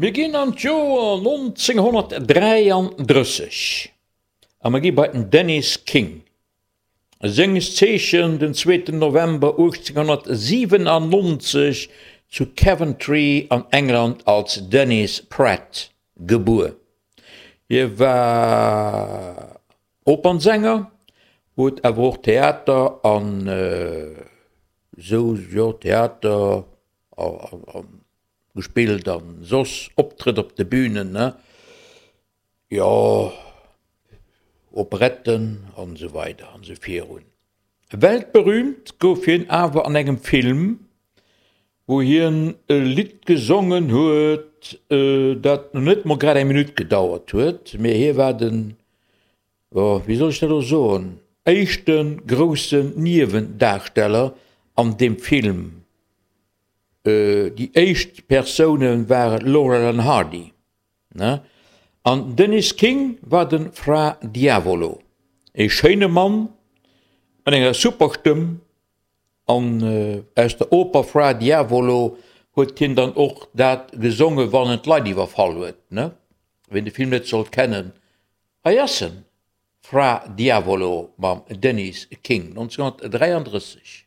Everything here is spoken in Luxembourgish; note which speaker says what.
Speaker 1: Mir ginn an d'Joer 1933 a mir gi bei den Dennis King. Senges Zeechen den zweeten November 1897 zu Coventry an England als Dennis Pratt gebuer. Hie war Opernsänger, huet awer och Theater an esou, jo Theater a gespillt an soss Optrëtt op de Bünen, ne, jo, Operetten an esou weider an esou virun. Weltberühmt gouf hien awer an engem Film, wou hien e Lidd gesongen huet, dat net mol grad eng Minutt gedauert huet, mee hie war den, jo, wéi soll ech dat elo soen, éischte groussen Niewendarsteller an deem Film. Déi éischt Persoune ware Laurel an Hardy, ne? An Dennis King war de Fra Diavolo, e schéine Mann mat enger super Stëmm. An aus der Oper Fra Diavolo huet hien dann och dat gesonge wann en d'Leit iwwerfall huet, ne? Wien de Film net sollt kennen, hei ass en, Fra Diavolo mam Dennis King, 1933.